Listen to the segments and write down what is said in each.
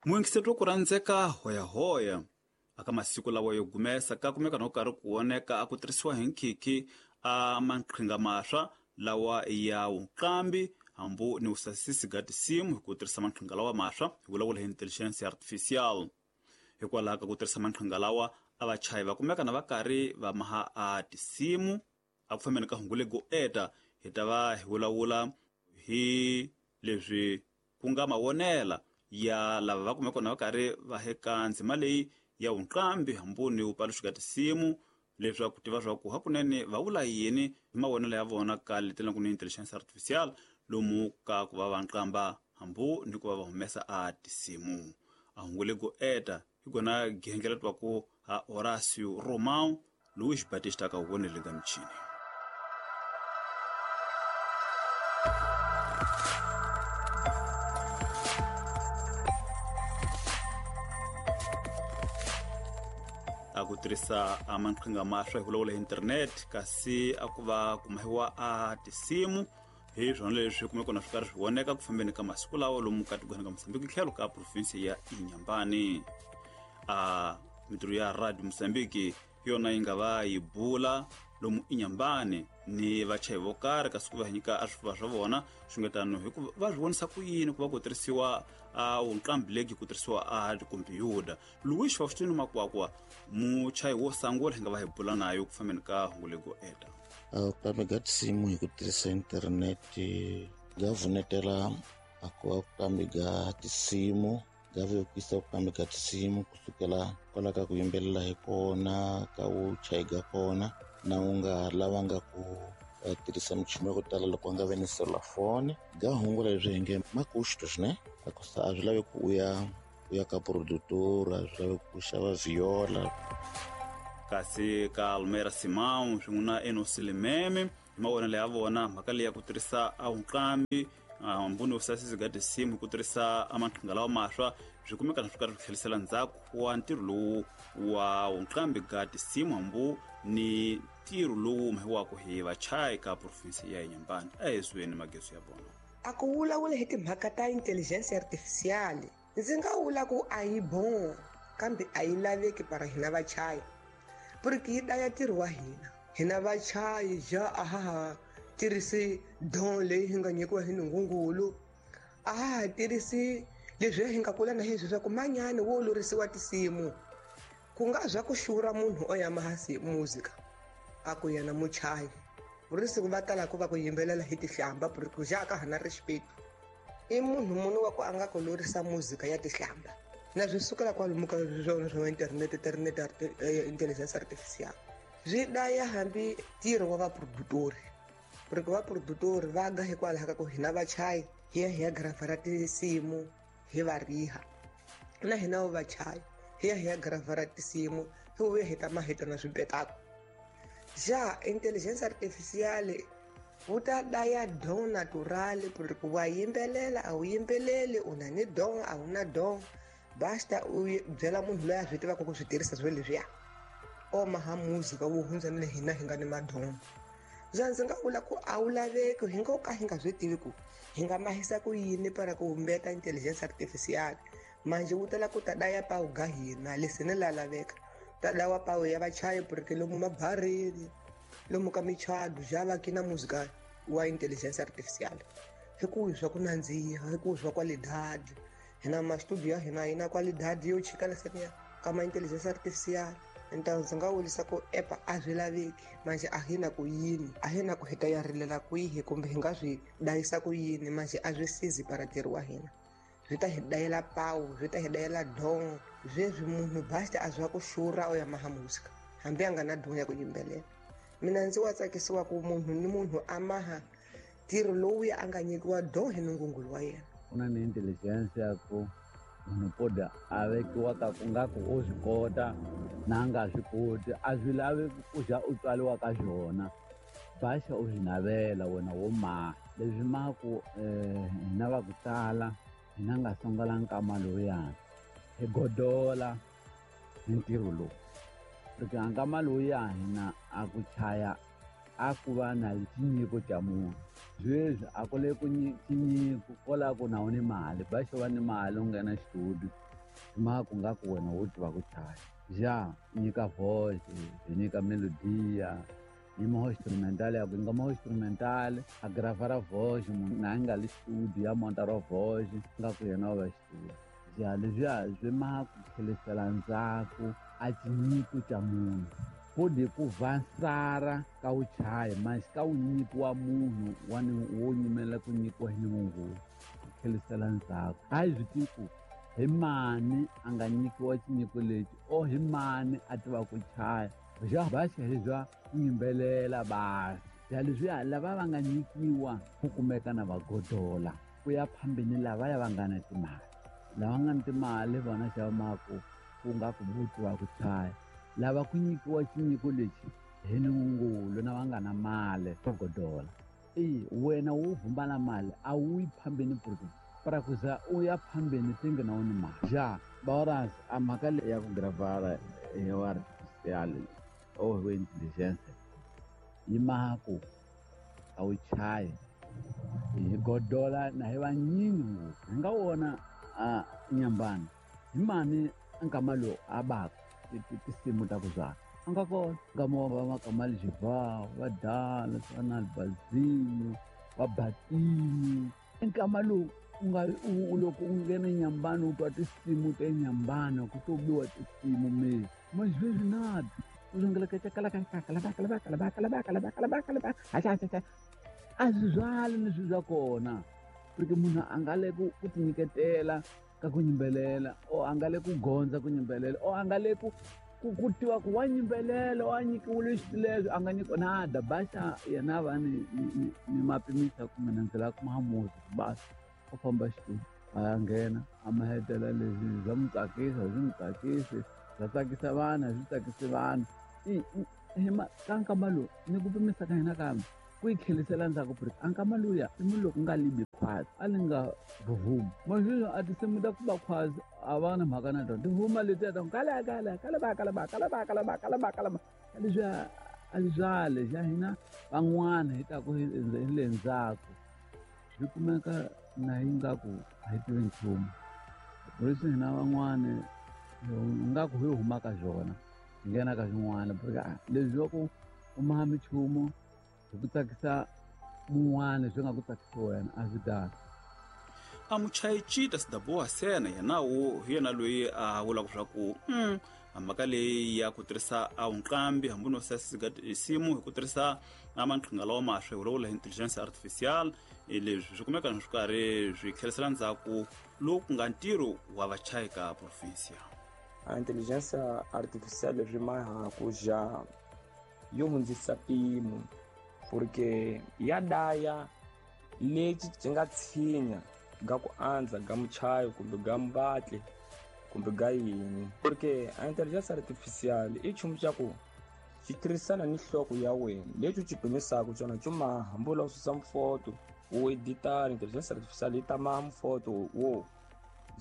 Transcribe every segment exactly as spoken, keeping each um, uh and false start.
Muyingiseri wa ku rhandzeka hoyahoya aka masiku lawa yo gumesa ka kumeka no karhi ku voneka a ku tirhisiwa hi nkhikhi a maqhinga maswa lawa ya wuqambi hambu ni vusasisi ga tinsimu hi ku tirhisa maqhinga lawa maswa hi vulavula hi intelligence artificial. Hikwalaho ka ku tirhisa maqhinga lawa a vachayi va kumeka na va karhi va maha a tinsimu. A ku fambeni ka hungu lego eta hi ta va hi vulavula hi leswi ku nga mavonela ya lava va kumeka na va karhi va heka ndzima leyi ya wuqambi hambu ni wupaluxi ka tinsimu leswaku tiva swa ku hakunene va vula yini hi mavonelo ya vona ka leti ku ni intelligence artificial lomu ka ku va va nqamba hambu ni ku va va humesa a tinsimu. A hungu lego eta hi kona gengela twa ku ha Horacio Romão Luiz Batista ka vonele ga michini. A ku tirhisa a maqhinga maswa hi vulavula hi internet kasi a ku va kumahiwa a tinsimu hi swona leswi kumeka na swi karhi swi voneka ku fambeni ka masiku lawa lomu ka tikweni ka Mozambique tlhelo ka province ya Inhambane. A mitirho ya Radio Mozambique yona yi nga va yi bula lomu Inhambane ni vachayi vo karhi kasi ku va nyika a swifuva swa vona xungetano hikuva va swi vonisa ku yini ku va ku tirhisiwa a wuqambi legi ku tirhisiwa a tikhompyuta. Luiz Faustino Makwakwa muchayi wo sungula hi nga va hi bula nayo ku fambeni ka hungu lego eta. A ku ga tinsimu hi ku tirhisa internete ga vunetela a ku va ku ga tinsimu ga vekisa ku kambe ga tinsimu kusukela kwala ka ku yimbelela hi kona ka vuchayi ga kona na u nga lavanga ku tirhisa michini ya ku tala loko a nga ve ni selulafoni ga hungula leswi hi nge makuxto swine a ku sa a swi lavi ku u ya u ya ka produtor, a swi lavi ku xava viola. Kasi ka Almera Simão swin'we na Enos Limeme hi mavonelo ya vona mhaka leyi ya ku tirhisa a wuqambi hambu ni vusasisi ga tinsimu hi ku tirhisa a maqhinga lawa maswa swi kumeka na swi karhi swi tlherisela ndzhaku wa ntirho lowu wa wuqambi ga tinsimu hambu ni ntirho lowu humehiwaka hi vachayi ka province ya Inhambane. A hi zweni mageso ya vona. A ku vulavula hi timhaka ta intelligence artificial ndzi nga vula ku a yi bon kambe a yi laveki para hina vachayi porque yi daya ntirho wa hina. Hina vachayi ja a ha ha tirhisi don leyi hi nga nyikiwa hi Nungungulu, a ha ha tirhisi leswi hi nga kula na heswi swa ku manyani wo lorisiwa tinsimu ku nga zwa ku xura munhu o ya mahasi muzika a ku yena muchayi vurisi ku va tala ku va ku yimbelela hi tihlamba porque ja ka hana respect i munhu munhu wa ku a nga ku lorisa muzika ya tihlamba na swi sukela kwalomu ka swona swa internet internet intelligence artificial swi daya hambi ntirho wa vaprodutori porque vaprodutori va ga hikwalaho ka ku hina vachayi hi ya hi ya gravara tinsimu hi va riha na hina vo vachayi hi ya hi ya gravara tinsimu hi vuya hi ta maheta na swipetako. Ja intelligence artificial wu ta daya don natural porque wa yimbelela a wu yimbeleli u na ni don a wu na don basta u byela munhu loyi a swi tivaka ku swi tirhisa swilo leswiya o maha muzika wu hundza ni le hina hi nga ni madon. Ja ndzi nga vula ku a wu laveki hi ngo ka hi nga swi tivi ku hi nga mahisa ku yini para ku humbeta intelligence artificial manje wu tala ku ta daya pawu ga hina leswi ni la laveka ta dawa pawu ya vachayi porque lomu mabarini lomu ka michado ja va kina muzika wa intelligence artificial hi ku swa ku nandziha hi ku swa qualidade hina ma studio ya hina yi na qualidade yo chika leseniya ka ma intelligence artificial. Então ndzi nga vulisa ku epa a swi laveki manje a hi na ku yini a hi na ku hi ta ya rilela kwihi kumbe hi nga swi dayisa ku yini manje a swi sizi para ntirho wa hina swi ta hi dayela pawu swi ta hi dayela don sweswi munhu basta a zwa ku xura o ya maha muzika hambi a nga na don ya ku yimbelela. Mina ndzi wa tsakisiwa ku munhu ni munhu a maha ntirho lowuya a nga nyikiwa don hi Nungungulu wa yena. Ku na ni intelligence ya ku munhu poda a vekiwa ka ku nga ku u swi kota na nga swi koti a swi lavi ku za u tswariwa ka swona baxa u swi navela wena wo maha leswi maku hina va ku tala hina nga sungula nkama lowuyani hi godola hi ntirho lowu porque a nkama lowuya hina a ku chaya a ku va na tinyiko ta munhu sweswi a ku le ku tinyiko ko lava ku na wu ni mali baxa va ni mali u nghena xitudio Ma ku nga ku wena wo tiva ku chaya. Ja nyika voice, nyika melodia, yi mo instrumental ya ku nga mo instrumental, a gravara voice munhu na nga le studio ya monta ro voice nga ku yena wa studio. Ja leswiya swi ma ku tlhelisela ndzhaku a tinyiko ta munhu. Pode ku vansara ka wu chaya mas ka wu nyikiwa munhu wa ni wo nyimela ku nyikiwa hi Nungungulu ku tlhelisela ndzhaku. A hi swi tivi ku hi mani a nga nyikiwa xinyiko lexi o hi mani a tiva ku chaya. Ja va xi bya ku yimbelela basi. Ja leswiya lava va nga nyikiwa ku kumeka na vagodola ku ya phambeni lavaya va nga na timali. Lava nga na timali vona xa maku ku nga ku vutiwa ku chaya. Lava ku nyikiwa xinyiko lexi hi Nungungulu na va nga na mali vagodola. E wena wo vumba na mali a wu yi phambeni porque para ku za u ya phambeni tinge na wona mali. Ja baoras a mhaka leyi ya ku gravara ya artificial o hi intelligence yi maku a wu chayi hi godola na hi vanyingi ngopfu. Hi nga wona a Nyambani hi mani nkama lowu a baka tinsimu ta ku byala a nga kona nkama wa va Makamali Xivao va Dala va na Albazini va Batini. Nkama lowu u nga loko u nghena Nyambani u twa tinsimu ta Nyambani ku to biwa tinsimu me ma sweswi nada u a swi byali ni swi bya kona porque munhu a nga le ku ku tinyiketela ka ku yimbelela o a nga le ku gondza ku yimbelela o a nga le ku ku ku tiva ku wa yimbelela wa nyikiwile xileswi a nga nyikiwa nada basa yena va ni ni ni mapimisa kumbe na ndzi lava ku mahamuzi basa u famba xitulu a ya nghena a ma hetela leswi bya n'wi tsakisa swi n'wi tsakisi bya tsakisa vanhu a swi tsakisi vanhu. I ka nkama lowu ni ku pimisa ka hina kambe ku yi tlhelisela ndzhaku porque a nkama luya i munhu loko nga libi khwazi a li nga vuvumi masweswi a tinsimu ta ku ba khwazi a va na mhaka na tona tivuma letiya ta ku kala kala kala ba kala ba kala ba kala ba kala ba kala ba leswiya a swi byale xa hina van'wana hi ta ku hi le ndzhaku swi kumeka na hi nga ku a hi tivi nchumu leswi hina van'wana nga ku hi huma ka swona hi nghena ka swin'wana porque leswi swa ku u maha minchumu hi ku tsakisa mun'wana swi nga ku tsakisi wena a swi kahle. A muchayi Chita Sidaboa Sena yena wo hi yena loyi a vulaka swa ku mm, mhaka leyi ya ku tirhisa a nqambi hambi no simu hi ku tirhisa a maqhinga lawa maswe hi vulavula hi intelligence artificial leswi swi kumeka swi karhi swi tlherisela ndzhaku lowu ku nga ntirho wa vachayi ka provinsia. A intelligence artificial leswi maha ku ja yo hundzisa mpimo porque ya daya lexi xi nga tshinya ga ku andza ga muchayo kumbe ga mbatli kumbe ga yini porque a intelligence artificial i nchumu xa ku xi tirhisana ni nhloko ya wena lexi u xi pimisaka xona xo maha hambi u lava ku susa mifoto u edita intelligence artificial yi ta maha mifoto wo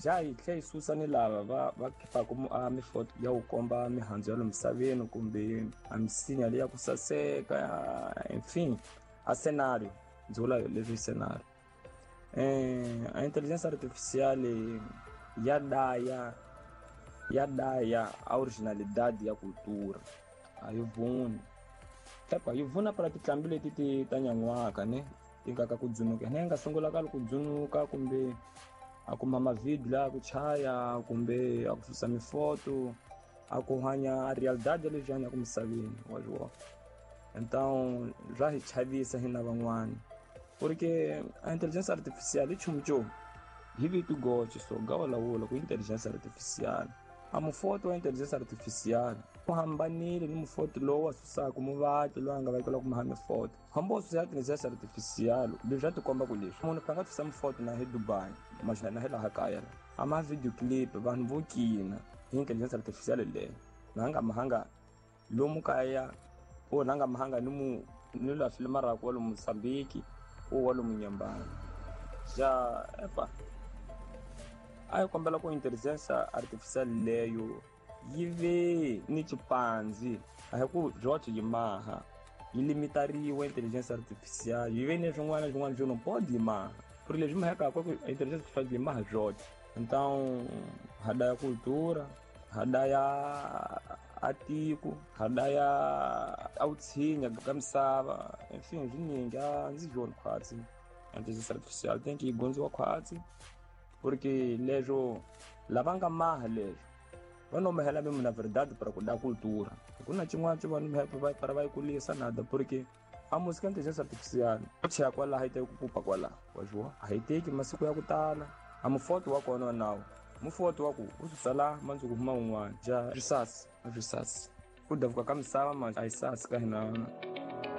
ja yi tlhela yi susa ni lava va va khipaka a mifoto ya ku komba mihandzu ya le misaveni kumbe a misinya leyi ya ku saseka enfin a scenario ndzi vula leswi scenario. Eh a intelligence artificial ya daya ya daya a originalidade ya cultura a yi vuni epa yi vuna para titlambi leti ti ta nyan'waka ne ti nga ka ku dzunuka ne nga sungula ka ku dzunuka kumbe a kuma mavideo la ku chaya kumbe a ku susa mifoto a ku hanya a realidade leswi hanyaka misaveni wa swi vona. Então swa hi chavisa hina van'wana porque a intelligence artificial i nchumu xo hi vito goce so ga vulavula ku intelligence artificial a mufoto wa intelligence artificial u hambanile ni mufoto lowu wa susaka muvatli loyi a nga vekela ku maha mifoto hambi wo susa intelligence artificial leswi swa tikomba ku leswi munhu a nga susa mifoto na hi Dubai maxana na hi laha kaya a ma video clip vanhu vo kina hi intelligence artificial leyo na nga mahanga lomu kaya o na nga mahanga ni mu ni la filma ra kwa lomu Mozambique o wa lomu Nyambani ja epa a yi kombela ku intelligence artificial leyo yi ve ni xipandzi a hi ku George yi maha yi limitariwa intelligence artificial yi ve ni swin'wana na swin'wana swo no pode yi maha ku ri leswi mahekaka ku intelligence artificial yi maha George Então ha daya cultura, ha daya a tiko, ha daya a vutshinya ka misava, enfin swinyingi a ndzi voni khwatsi. Intelligence artificial tem que yi gondziwa khwatsi porque leswo lava nga maha leswo va no mahela mesmo na verdade para ku da cultura. Ku na xin'wana xo va no para va yi kulisa nada porque a música inteligência artificial u chaya kwalaha yi teki ku pupa kwalaha wa swi a yi teki masiku ya ku tala a mufoto wa kona nawu mufoto wa ku u susa laha mandzuku huma un'wana ja risasi risasi ku davuka ka misava manje a yi sasi ka hina.